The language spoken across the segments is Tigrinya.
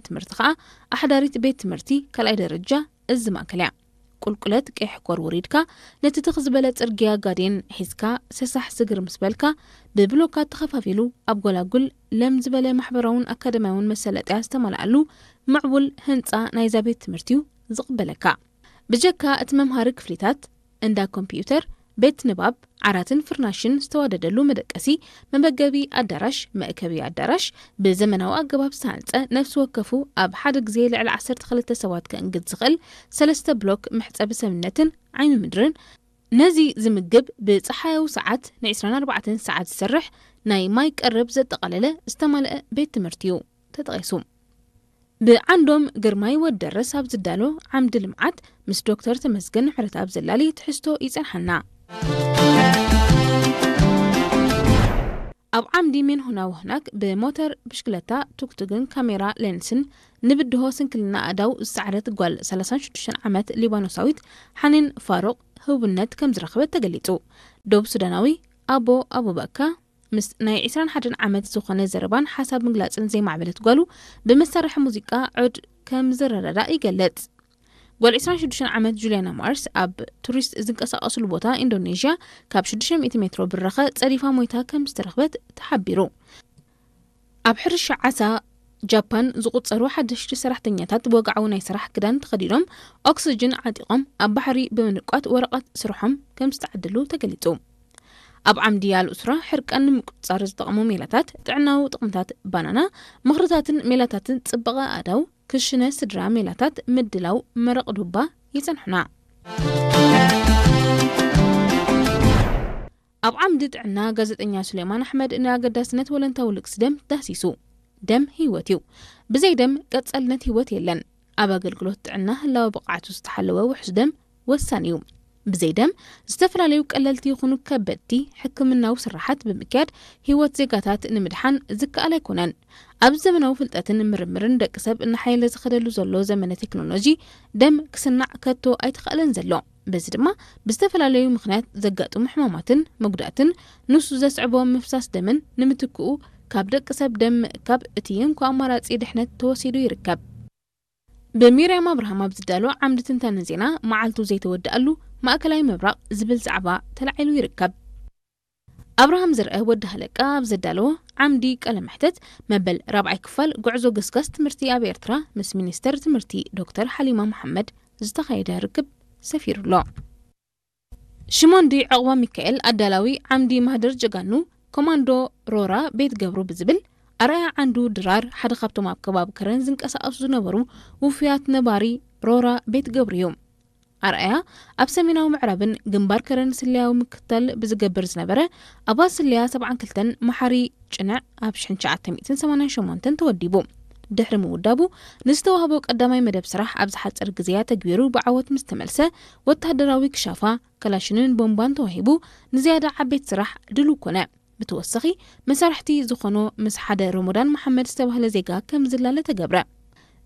ትምህርቲ ከኣ ኣሕዳሪት ቤት ትምህርቲ ካልኣይ ደረጃ እዚ ማእከል እያ። ቁልቁለት ቀይሕ ኮር ወሪድካ፣ ነቲ ትኽ ዝበለ ጽርግያ ጋዴን ሒዝካ ሰሳሕ ስግር ምስ በልካ፣ ብብሎካት ተኸፋፊሉ ኣብ ጎላጉል ለም ዝበለ ማሕበራውን ኣካደምያውን መሰለጥያ ዝተመልኣሉ ምዕቡል ህንጻ ናይዛ ቤት ትምህርቲ እዩ ዝቕበለካ። ብጀካ እቲ መምሃሪ ክፍሊታት፣ እንዳ ኮምፒዩተር፣ ቤት ንባብ፣ ዓራትን ፍርናሽን ዝተዋደደሉ መደቀሲ፣ መመገቢ ኣዳራሽ፣ መእከቢ ኣዳራሽ፣ ብዘመናዊ ኣገባብ ዝተሃንጸ ነፍሲ ወከፉ ኣብ ሓደ ግዜ ልዕሊ ዓሰርተ ክልተ ሰባት ከእንግድ ዝኽእል ሰለስተ ብሎክ መሕጸቢ ሰብነትን ዓይኒ ምድርን፣ ነዚ ዝምግብ ብጸሓያዊ ሰዓት ን ዕስራን ኣርባዕተን ሰዓት ዝሰርሕ ናይ ማይ ቀረብ ዘጠቓለለ ዝተማልአ ቤት ትምህርቲ እዩ ተጠቒሱ። ብዓንዶም ግርማይ ወደረስ ኣብ ዝዳሎ ዓምዲ ልምዓት ምስ ዶክተር ተመስገን ምሕረት ኣብ ዘላሊ ትሕዝቶ ይጸንሓና። ኣብ ዓምዲ ሜንሁና ወህናክ ብሞተር ብሽክለታ ቱክቱግን ካሜራ ሌንስን ንብድሆ ስንክልና ኣእዳው ዝሰዓረት ጓል ሰላሳን ሽዱሽተን ዓመት ሊባኖሳዊት ሓኒን ፋሩቕ ህቡብነት ከም ዝረኸበት ተገሊጹ። ዶብ ሱዳናዊ ኣቦ ኣቡበካ ምስ ናይ ዕስራን ሓደን ዓመት ዝኾነ ዘረባን ሓሳብ ምግላጽን ዘይማዕበለት ጓሉ ብመሳርሒ ሙዚቃ ዑድ ከም ዝረዳዳእ ይገልጽ። ጓል ዕስራን ሽዱሽተን ዓመት ጁልያና ማርስ ኣብ ቱሪስት ዝንቀሳቐስሉ ቦታ ኢንዶኔዥያ ካብ ሽዱሽተ ሚእቲ ሜትሮ ብራኸ ጸዲፋ ሞይታ ከም ዝተረኽበት ተሓቢሩ። ኣብ ሕርሻ ዓሳ ጃፓን ዝቑጸሩ ሓደሽቲ ሰራሕተኛታት ወግዓዊ ናይ ስራሕ ክዳን ተኸዲኖም ኦክስጅን ዓጢቖም ኣብ ባሕሪ ብምንቋት ወረቐት ስርሖም ከም ዝተዓደሉ ተገሊጹ። ኣብ ዓምዲ ኣልኡስራ ሕርቃን ንምቁጽጻር ዝጠቕሙ ሜላታት ጥዕናዊ ጥቕምታት ባናና፣ ምኽርታትን ሜላታትን ጽባቐ ኣእዳው፣ ክሽነ ስድራ ሜላታት ምድላው መረቕ ዱባ ይጸንሑና። ኣብ ዓምዲ ጥዕና ጋዜጠኛ ሱሌማን ኣሕመድ ንኣገዳስነት ወለንታዊ ልግሲ ደም ዳህሲሱ። ደም ህይወት እዩ። ብዘይ ደም ቀጻልነት ህይወት የለን። ኣብ ኣገልግሎት ጥዕና ህላወ ብቕዓቱ ዝተሓለወ ውሑስ ደም ወሳኒ እዩ። ብዘይ ደም ዝተፈላለዩ ቀለልቲ ይኹኑ ከበድቲ ሕክምናዊ ስራሓት ብምክያድ ህይወት ዜጋታት ንምድሓን ዝከኣል ኣይኮነን። ኣብ ዘመናዊ ፍልጠትን ምርምርን ደቂ ሰብ እናሓየለ ዝኸደሉ ዘሎ ዘመነ ቴክኖሎጂ ደም ክስናዕ ከቶ ኣይተኸእለን ዘሎ። በዚ ድማ ብዝተፈላለዩ ምኽንያት ዘጋጥሙ ሕማማትን መጉዳእትን ንሱ ዘስዕቦ ምፍሳስ ደምን ንምትክኡ ካብ ደቂ ሰብ ደም ምእካብ እቲ እንኮ ኣማራጺ ድሕነት ተወሲዱ ይርከብ። ብሚርያም ኣብርሃም ኣብ ዝዳሎ ዓምዲ ትንታነ ዜና መዓልቱ ዘይተወድኣሉ ማእከላይ ምብራቕ ዝብል ዛዕባ ተላዒሉ ይርከብ። ኣብርሃም ዝርአ ወዲ ሃለቃ ኣብ ዘዳለዎ ዓምዲ ቃለ መሕተት መበል ራብዓይ ክፋል ጉዕዞ ገስጋስ ትምህርቲ ኣብ ኤርትራ ምስ ሚኒስተር ትምህርቲ ዶክተር ሓሊማ መሓመድ ዝተኻየደ ርክብ ሰፊሩ ኣሎ። ሽሞንዲ ዕቑባ ሚካኤል ኣዳላዊ ዓምዲ ማህደር ጀጋኑ ኮማንዶ ሮራ ቤት ገብሩ ብዝብል ኣርኣያ ዓንዱ ድራር ሓደ ካብቶም ኣብ ከባቢ ከረን ዝንቀሳቐሱ ዝነበሩ ውፉያት ነባሪ ሮራ ቤት ገብሩ እዩ። ኣርኣያ ኣብ ሰሜናዊ ምዕራብን ግንባር ከረን ስለያዊ ምክትታል ብዝገብር ዝነበረ ኣባል ስለያ ሰብዓን ክልተን መሓሪ ጭንዕ ኣብ ሽሕን ትሽዓተ ሚእትን ሰማንያን ሸሞንተን ተወዲቡ። ድሕሪ ምውዳቡ ንዝተዋህቦ ቀዳማይ መደብ ስራሕ ኣብ ዝሓጸር ግዜያ ተግቢሩ ብዓወት ምስ ተመልሰ ወታደራዊ ክሻፋ፣ ከላሽንን ቦምባን ተዋሂቡ ንዝያዳ ዓበይቲ ስራሕ ድሉው ኮነ። ብተወሳኺ መሳርሕቲ ዝኾኖ ምስ ሓደ ረመዳን መሓመድ ዝተባህለ ዜጋ ከም ዝላለ ተገብረ።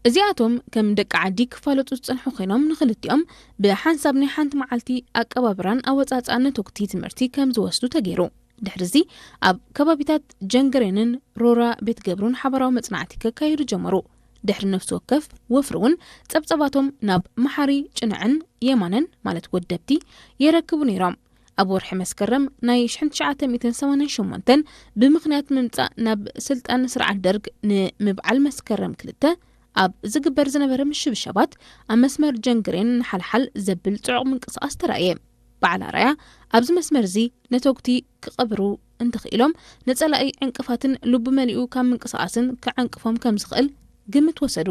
እዚኣቶም ከም ደቂ ዓዲ ክፋለጡ ዝጸንሑ ኮይኖም ንኽልቲኦም ብሓንሳብ ናይ ሓንቲ መዓልቲ ኣቀባብራን ኣወጻጽኣን ነተጉቲ ትምህርቲ ከም ዝወስዱ ተገይሩ። ድሕሪ እዚ ኣብ ከባቢታት ጀንገሬንን ሮራ ቤት ገብሩን ሓባራዊ መጽናዕቲ ከካይዱ ጀመሩ። ድሕሪ ነፍሲ ወከፍ ወፍሪ እውን ጸብጸባቶም ናብ መሓሪ ጭንዕን የማነን ማለት ወደብቲ የረክቡ ነይሮም። ኣብ ወርሒ መስከረም ናይ ሽሕን ትሽዓተ ሚእትን ሰማንያን ሸሞንተን ብምኽንያት ምምጻእ ናብ ስልጣን ስርዓት ደርግ ንምብዓል መስከረም ክልተ ኣብ ዝግበር ዝነበረ ምሽብሻባት ኣብ መስመር ጀንግሬን ንሓልሓል ዘብል ጽዑቕ ምንቅስቓስ ተራእየ። በዓል ኣርኣያ ኣብዚ መስመር እዚ ነተጉቲ ክቐብሩ እንተኽኢሎም ንጸላኢ ዕንቅፋትን ልቡ መሊኡ ካብ ምንቅስቓስን ክዕንቅፎም ከም ዝኽእል ግምት ወሰዱ።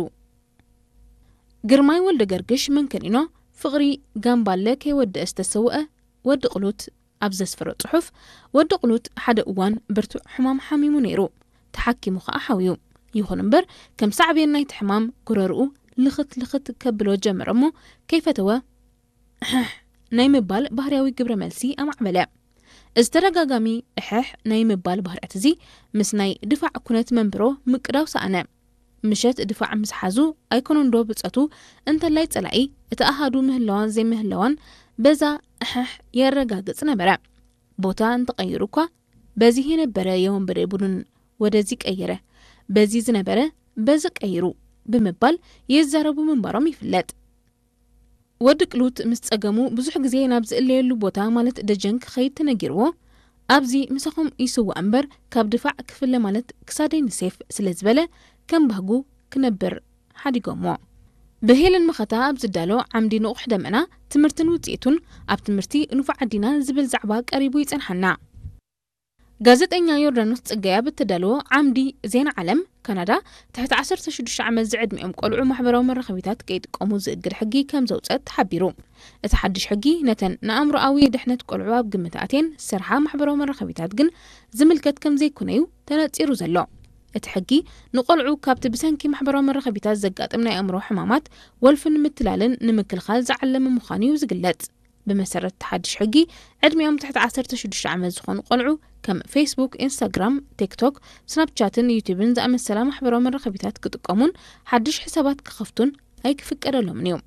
ግርማይ ወልደ ገርግሽ መንከኒኖ ፍቕሪ ጋምባለ ከይወደአ ዝተሰውአ ወዲ ቅሉት ኣብ ዘስፈሮ ጽሑፍ፣ ወዲ ቅሉት ሓደ እዋን ብርቱዕ ሕማም ሓሚሙ ነይሩ። ተሓኪሙ ኸኣ ሓውዩ። ይኹን እምበር ከም ሳዕቤን ናይቲ ሕማም ጉረርኡ ልኽት ልኽት ከብሎ ጀመረ እሞ ከይፈተወ እሕሕ ናይ ምባል ባህርያዊ ግብረ መልሲ ኣማዕበለ። እዚ ተደጋጋሚ እሕሕ ናይ ምባል ባህርያት እዚ ምስ ናይ ድፋዕ ኩነት መንብሮ ምቅዳው ሰኣነ። ምሸት ድፋዕ ምስ ሓዙ ኣይኮነንዶ ብጸቱ እንተላይ ጸላኢ እቲ ኣሃዱ ምህላዋን ዘይምህላዋን በዛ እሕሕ የረጋግጽ ነበረ። ቦታ እንተቐይሩ እኳ በዚህ የነበረ የወንበዴ ቡድን ወደዚህ ቀየረ፣ በዚህ ዝነበረ በዚ ቀይሩ ብምባል ይዛረቡ ምንባሮም ይፍለጥ። ወዲ ቅሉት ምስ ጸገሙ ብዙሕ ግዜ ናብ ዝእለየሉ ቦታ ማለት ደጀን ክኸይድ ተነጊርዎ፣ ኣብዚ ምሳኹም ይስዋእ እምበር ካብ ድፋዕ ክፍለ ማለት ክሳደይ ንሴፍ ስለ ዝበለ ከም ባህጉ ክነብር ሓዲጎሞ። ብሄለን መኸታ ኣብ ዝዳሎ ዓምዲ ንቑሕ ደመና ትምህርትን ውጽኢቱን ኣብ ትምህርቲ ንፉዓት ዲና ዝብል ዛዕባ ቀሪቡ ይጸንሓና። ጋዜጠኛ ዮርዳኖስ ጽጋይ ኣብ እተዳለዎ ዓምዲ ዜና ዓለም ካናዳ ትሕቲ ዓሰርተ ሽዱሽተ ዓመት ዝዕድሚኦም ቆልዑ ማሕበራዊ መራኸቢታት ከይጥቀሙ ዝእግድ ሕጊ ከም ዘውጸት ተሓቢሩ። እቲ ሓድሽ ሕጊ ነተን ንኣእምሮኣዊ ድሕነት ቆልዑ ኣብ ግምት ኣትየን ዝሰርሓ ማሕበራዊ መራኸቢታት ግን ዝምልከት ከም ዘይኮነ'ዩ ተነጺሩ ዘሎ። እቲ ሕጊ ንቆልዑ ካብቲ ብሰንኪ ማሕበራዊ መራኸቢታት ዘጋጥም ናይ ኣእምሮ ሕማማት፣ ወልፍን ምትላልን ንምክልኻል ዝዓለመ ምዃኑ'ዩ ዝግለጽ። ብመሰረት እቲ ሓድሽ ሕጊ፣ ዕድሚኦም ትሕቲ ዓሰርተ ሽዱሽተ ዓመት ዝኾኑ ቆልዑ ከም ፌስቡክ፣ ኢንስታግራም፣ ቲክቶክ፣ ስናፕቻትን ዩቲዩብን ዝኣመሰላ ማሕበራዊ መራኸቢታት ክጥቀሙን ሓድሽ ሕሳባት ክኸፍቱን ኣይክፍቀደሎምን እዩ።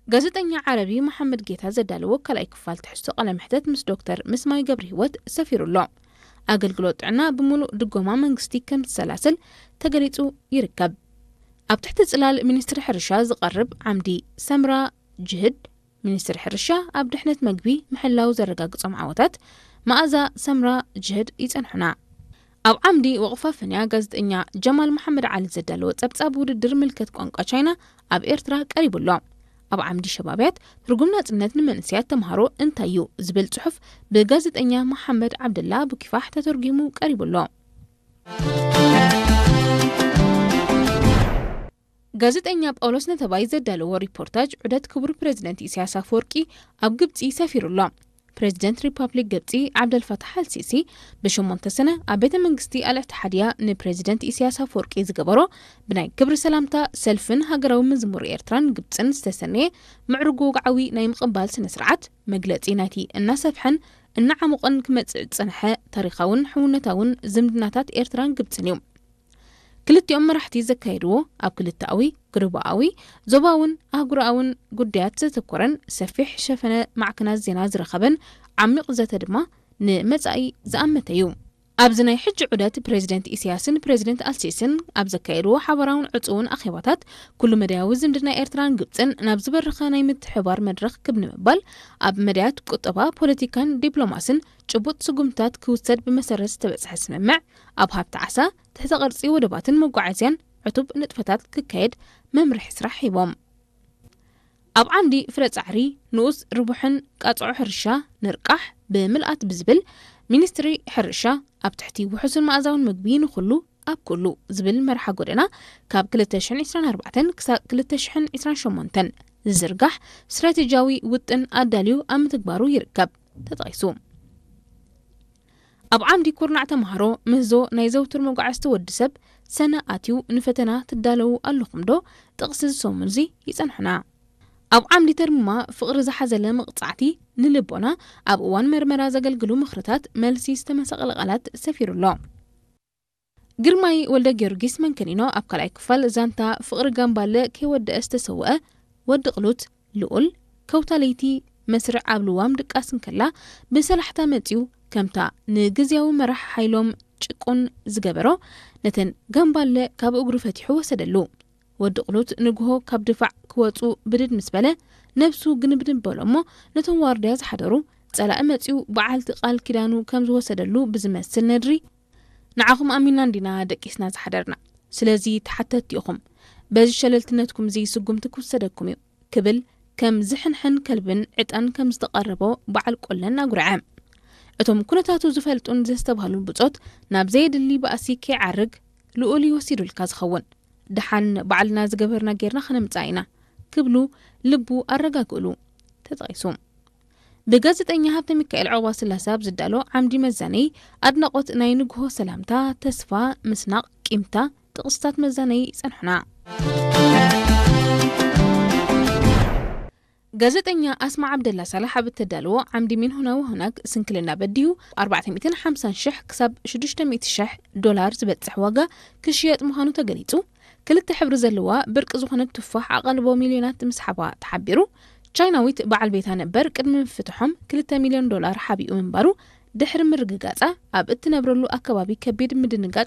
ጋዜጠኛ ዓረቢ መሓመድ ጌታ ዘዳለዎ ካልኣይ ክፋል ትሕዝቶ ቃለ መሕተት ምስ ዶክተር ምስማይ ገብረ ህይወት ሰፊሩ ኣሎ። ኣገልግሎት ጥዕና ብምሉእ ድጎማ መንግስቲ ከም ዝሰላሰል ተገሊጹ ይርከብ። ኣብ ትሕቲ ጽላል ሚኒስትሪ ሕርሻ ዝቐርብ ዓምዲ ሰምራ ጅህድ፣ ሚኒስትሪ ሕርሻ ኣብ ድሕነት መግቢ ምሕላው ዘረጋግጾም ዓወታት መኣዛ ሰምራ ጅህድ ይጸንሑና። ኣብ ዓምዲ ወቕፋ ፈንያ ጋዜጠኛ ጀማል መሓመድ ዓሊ ዘዳለዎ ጸብጻብ ውድድር ምልከት ቋንቋ ቻይና ኣብ ኤርትራ ቀሪቡ ኣሎ። ኣብ ዓምዲ ሸባብያት ትርጉም ናጽነት ንመንእሰያት ተምሃሮ እንታይ እዩ ዝብል ጽሑፍ ብጋዜጠኛ መሓመድ ዓብደላ ኣቡኪፋሕ ተተርጒሙ ቀሪቡ ኣሎ። ጋዜጠኛ ጳውሎስ ነተባይ ዘዳለዎ ሪፖርታጅ ዑደት ክቡር ፕሬዚደንት ኢሳያስ ኣፈወርቂ ኣብ ግብጺ ሰፊሩ ኣሎ። ፕሬዚደንት ሪፓብሊክ ግብጺ ዓብደልፋታሕ ኣልሲሲ ብሸሞንተ ሰነ ኣብ ቤተ መንግስቲ ኣልእትሓድያ ንፕሬዚደንት ኢሳያስ ኣፈወርቂ ዝገበሮ ብናይ ክብሪ ሰላምታ ሰልፍን ሃገራዊ መዝሙር ኤርትራን ግብጽን ዝተሰነየ ምዕሩግ ወግዓዊ ናይ ምቕባል ስነ ስርዓት መግለጺ ናይቲ እናሰፍሐን እናዓሞቐን ክመጽእ ዝጸንሐ ታሪኻውን ሕውነታውን ዝምድናታት ኤርትራን ግብጽን እዩ። ክልቲኦም መራሕቲ ዘካየድዎ ኣብ ክልተኣዊ፣ ግርባኣዊ፣ ዞባውን ኣህጉራውን ጉዳያት ዘተኮረን ሰፊሕ ሸፈነ ማዕከናት ዜና ዝረኸበን ዓሚቕ ዘተ ድማ ንመጻኢ ዝኣመተ እዩ። ኣብዚ ናይ ሕጂ ዑደት ፕሬዚደንት ኢሳያስን ፕሬዚደንት ኣልሲስን ኣብ ዘካየድዎ ሓባራውን ዕጹውን ኣኼባታት ኩሉ መዳያዊ ዝምድና ኤርትራን ግብጽን ናብ ዝበረኸ ናይ ምትሕባር መድረኽ ክብ ንምባል ኣብ መዳያት ቁጠባ፣ ፖለቲካን ዲፕሎማስን ጭቡጥ ስጉምትታት ክውሰድ ብመሰረት ዝተበጽሐ ስምምዕ ኣብ ሃብቲ ዓሳ፣ ትሕተ ቅርጺ ወደባትን መጓዓዝያን ዕቱብ ንጥፈታት ክካየድ መምርሒ ስራሕ ሂቦም። ኣብ ዓምዲ ፍረ ጻዕሪ ንኡስ ርቡሕን ቃጽዖ ሕርሻ ንርቃሕ ብምልኣት ብዝብል ሚኒስትሪ ሕርሻ ኣብ ትሕቲ ውሑስን መኣዛውን ምግቢ ንኹሉ ኣብ ኩሉ ዝብል መርሓ ጎደና ካብ ክልተ ሽሕን ዕስራን ኣርባዕተን ክሳብ ክልተ ሽሕን ዕስራን ሸሞንተን ዝዝርጋሕ ስትራቴጂያዊ ውጥን ኣዳልዩ ኣብ ምትግባሩ ይርከብ ተጠቒሱ። ኣብ ዓምዲ ኩርናዕ ተምሃሮ ምህዞ ናይ ዘውትር መጓዕዝቲ ወዲ ሰብ ሰነ ኣትዩ ንፈተና ትዳለዉ ኣለኹም ዶ? ጥቕሲ ዝሰሙንዚ ይጸንሑና። ኣብ ዓምዲ ተርምማ ፍቕሪ ዝሓዘለ መቕጻዕቲ ንልቦና ኣብ እዋን መርመራ ዘገልግሉ ምኽርታት መልሲ ዝተመሰቐለ ቃላት ሰፊሩ ኣሎ። ግርማይ ወልደ ጊዮርጊስ መንከኒኖ ኣብ ካልኣይ ክፋል ዛንታ ፍቕሪ ጋምባለ ከይወደአ ዝተሰወአ ወዲ ቅሉት ልኡል ከውታ ለይቲ መስርዕ ኣብ ልዋም ድቃስ እንከላ ብሰላሕታ መጺኡ ከምታ ንግዝያዊ መራሕ ሓይሎም ጭቁን ዝገበሮ ነተን ጋምባለ ካብ እግሩ ፈቲሑ ወሰደሉ። ወዲ ቅሉት ንግሆ ካብ ድፋዕ ክወጹ ብድድ ምስ በለ ነብሱ ግንብድን በሎ እሞ ነቶም ዋርድያ ዝሓደሩ ጸላኢ መጺኡ በዓልቲ ቃል ኪዳኑ ከም ዝወሰደሉ ብዝመስል ነድሪ ንዓኹም ኣሚንና እንዲና ደቂስና ዝሓደርና። ስለዚ ተሓተትቲ ኢኹም። በዚ ሸለልትነትኩም እዚ ስጉምቲ ክውሰደኩም እዩ ክብል ከም ዝሕንሕን ከልብን ዕጣን ከም ዝተቐረቦ በዓል ቆለን ኣጉርዐ። እቶም ኩነታቱ ዝፈልጡን ዘስተብሃሉን ብጾት ናብ ዘየድሊ ባእሲ ከይዓርግ ልኡል እዩ ወሲዱልካ ዝኸውን። ደሓን ባዕልና ዝገበርና ጌርና ከነምጽኣ ኢና ክብሉ ልቡ ኣረጋግእሉ ተጠቒሱ። ብጋዜጠኛ ሃብተ ሚካኤል ዑቕባ ስላሰ ኣብ ዝዳሎ ዓምዲ መዛነዪ ኣድናቖት ናይ ንግሆ ሰላምታ፣ ተስፋ፣ ምስናቕ፣ ቂምታ ጥቕስታት መዛነዪ ይጸንሑና። ጋዜጠኛ ኣስማ ዓብደላ ሳላሕ ኣብ እተዳለዎ ዓምዲ ሚን ሁና ወሁናግ ስንክልና በዲሁ ኣርባዕተ ሚእትን ሓምሳን ሽሕ ክሳብ ሽዱሽተ ሚእቲ ሽሕ ዶላር ዝበጽሕ ዋጋ ክሽየጥ ምዃኑ ተገሊጹ። ክልተ ሕብሪ ዘለዋ ብርቂ ዝኾነት ቱፋሕ ኣቓልቦ ሚልዮናት ምስሓባ ተሓቢሩ። ቻይናዊት በዓል ቤታ ነበር ቅድሚ ምፍትሖም ክልተ ሚልዮን ዶላር ሓቢኡ ምንባሩ ድሕሪ ምርግጋጻ፣ ኣብ እትነብረሉ ኣከባቢ ከቢድ ምድንጋጽ